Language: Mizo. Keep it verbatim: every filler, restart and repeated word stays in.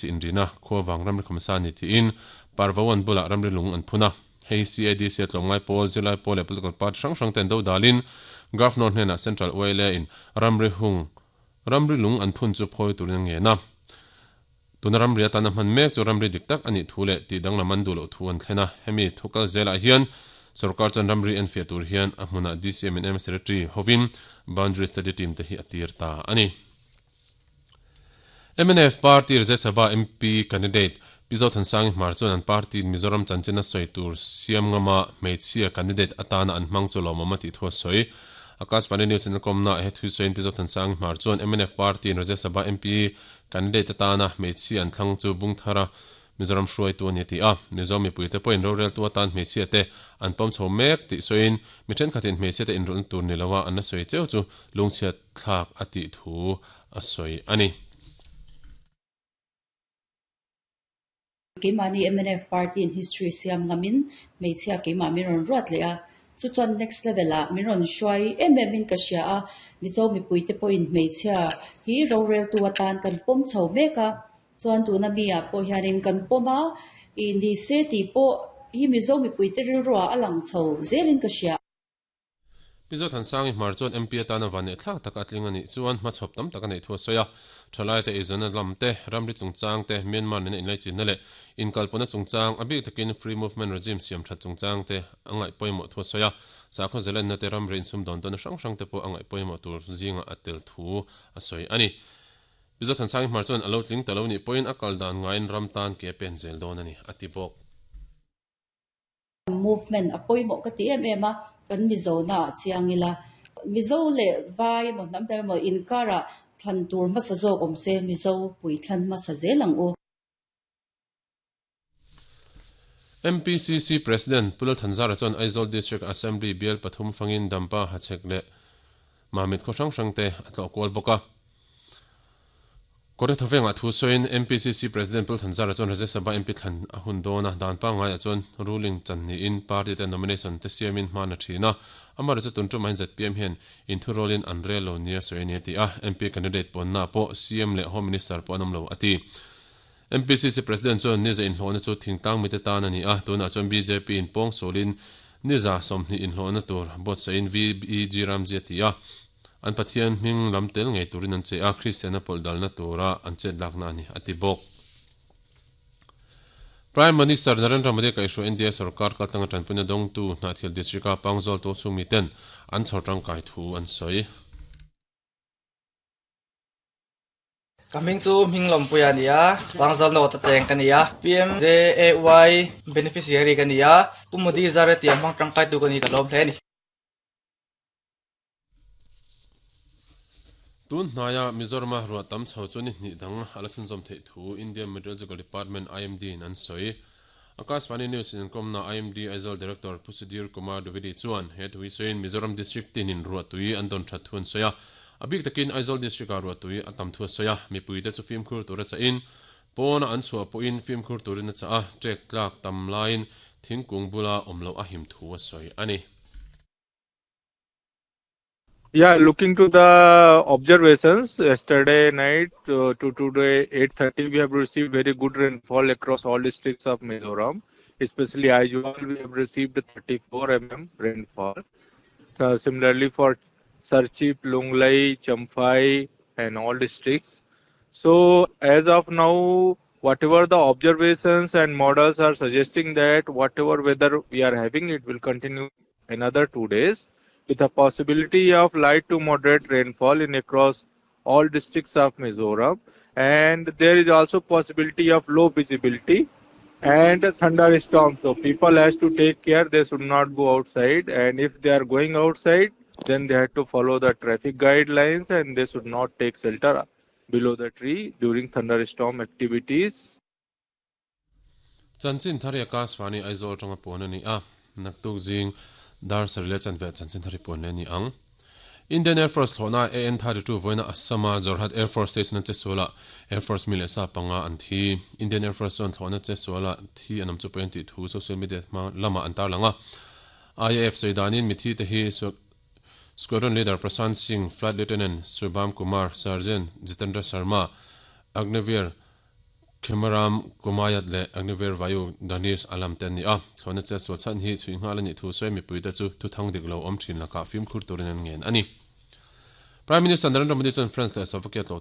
C inrina khuawang ramri khamsa ni tiin parvawan bula ramri lung an phuna hei C A D C tlongai pawl zilai pawl le political party hrang hrang ten do dalin governor hnena central oil in ramri hung ramri lung an phun chu phoi turin nge na tuna ramri atana hman mek chu ramri diktak ani thule ti danglam an du lo thu an thlena hemi thukal zela hian sarkar chan ramri en fia tur hian a hmuna D C M and M secretary hovin boundary study team te hi atir ta ani M N F party Rajya Sabha M P candidate Pizo Thansang Hmar chuan an party Mizoram chanchina soi tur siam ngama hmeichhia candidate atana an hmang chu lawmawm a tih thu a sawi Akashvani News in kom na he thu sawiin Pizo Thansang Hmar chuan M N F party Rajya Sabha M P candidate atana hmeichhia an thlang chu Bungthara Mizoram hruai tu ani ti a Mizo mipui te pawhin rorel tu atan hmeichhia te an pawm chho mek tih sawiin mi thenkhatin hmeichhia te inrawlh tur ni loa an la sawi cheu chu lungchhiat thlak a tih thu a sawi ani. Keimahni M N F party in history siam ngamin hmeichhia keimah min rawn ruat leh a chu chuan next level ah min rawn hruai em em in ka hria a Mizo mipui te pawhin hmeichhia hi rorel tu atan kan pawm chho mek a chuan tuna mi ah pawh hianin kan pawm a i ni se tih pawh hi Mizo mipui te rilruah a lang chho zelin ka hria. Pizo Thansang Hmar chuan M P atana van leh thlak tak a tling ani chuan hmachhawp tam tak a neih thu a sawi a thalai te eizawn lam te ramri chungchang te Myanmar nena inlai chinna leh inkalpawna chungchang a bik takin free movement regime siam that chungchang te a ngaih pawimawh thu a sawi a sakhaw zelenna te ramri insum dawn tawn hrang hrang te pawh a ngaih pawimawh tur zinga a tel thu a sawi ani. Pizo Thansang Hmar chuan a lo tling ta lo ni pawhin a kal dan ngaiin ram tan ke pen zel dawn ani a ti bawk. Movement a pawimawh ka ti em em a kan Mizo na chiang ila Mizo le vai mo hnam dang mo inkara thlan tur hmasa zawk awm se Mizo pui thlan hmasa zel ang u. M P C C President Pulal Thanzara chuan Aizawl District Assembly bial pathum fangin dampa hachek le Mamit khaw hrang hrang te a tlawh kual bawk a. Kawr thawenga thu sawiin M P C C President Pulal Thanzara chuan Rajya Sabha M P thlan a hun dawn a dan pangngai ah chuan ruling chan niin party te nomination te siamin hman a thin a amar chu tun tumah hian Z P M hian inthu rolin an rel lo nia sawi ani a ti a M P candidate pawnna pawh C M leh Home Minister pawh an awm lo a ti. M P C C President chuan niza inhlawhna chu thingtlang mite tan ani a tunah chuan B J P in pawng sawlin niza sawmhnih inhlawhna tur buatsahin V E G Ramji a ti a an Pathian hming lam tel ngei turin an che a Christian a pawlh dalna tura an chet lakna ani a ti bawk. Prime Minister Narendra Modi kaihhruai India sarkar kaltlanga tanpuina dawngtu Hnahthial district a Pangzawl tu chhungmi ten an chhawr tangkai thu an sawi. Kaming chu hming puia ania Pangzawl no ta cheng ka nia P M J A Y beneficiary ka nia Pu Modi zare tiam hmang tangkai tu ka ni ka lawm hle ni. Tun hnaya Mizoram ruah tam chho chu ni hnih dang ala chhunzawm theih thu Indian Meteorological Department I M D in an sawi. Akashvani News in komna I M D Aizawl Director Pu Sudhir Kumar Dwivedi chuan he thui sawiin Mizoram District tinin ruah tui an dawn that thu an sawi a a bik takin Aizawl District a ruah tui a tam thu a sawi a mipui te chu fimkhur tur a chahin pawna an chhuah pawhin fimkhur turin a chah a tek tlak tam laiin thingkung bula awm lo a him thu a sawi ani. Yeah, looking to the observations yesterday night uh, to today eight thirty, we have received very good rainfall across all districts of Mizoram. Especially Aizawl, we have received thirty-four millimeters rainfall. So similarly for Serchhip, Lunglei, Champhai, and all districts. So as of now, whatever the observations and models are suggesting that whatever weather we are having, it will continue another two days, with a possibility of light to moderate rainfall in across all districts of Mizoram. And there is also possibility of low visibility and thunderstorms. So people has to take care. They should not go outside. And if they are going outside, then they have to follow the traffic guidelines and they should not take shelter below the tree during thunderstorm activities. Chanchin thari Akashvani Aizawl tanga pon ani a naktuk jing dar sarile chanve chanchin thari pon ani ang. Indian Air Force thlona A N thirty-two voina Assama Jorhat Air Force Station che sola Air Force mile sa panga an thi. Indian Air Force on thlona che sola thi anam chu point thu social media ma lama antar langa I A F soidanin mithi te hi Squadron Leader Prasant Singh, Flight Lieutenant Subham Kumar, Sergeant Jitendra Sharma, Agneveer Khemaram Kumayat leh Agniveer Vayu Danish Alam te an ni a. Thlawhna che sual chhan hi chhui nghal a nih thu sawi mipuite chu thuthang dik lo awm thin lakah fimkhur turin an ngen a ni. Prime Minister Narendra Modi chuan France leh Slovakia tlawh turin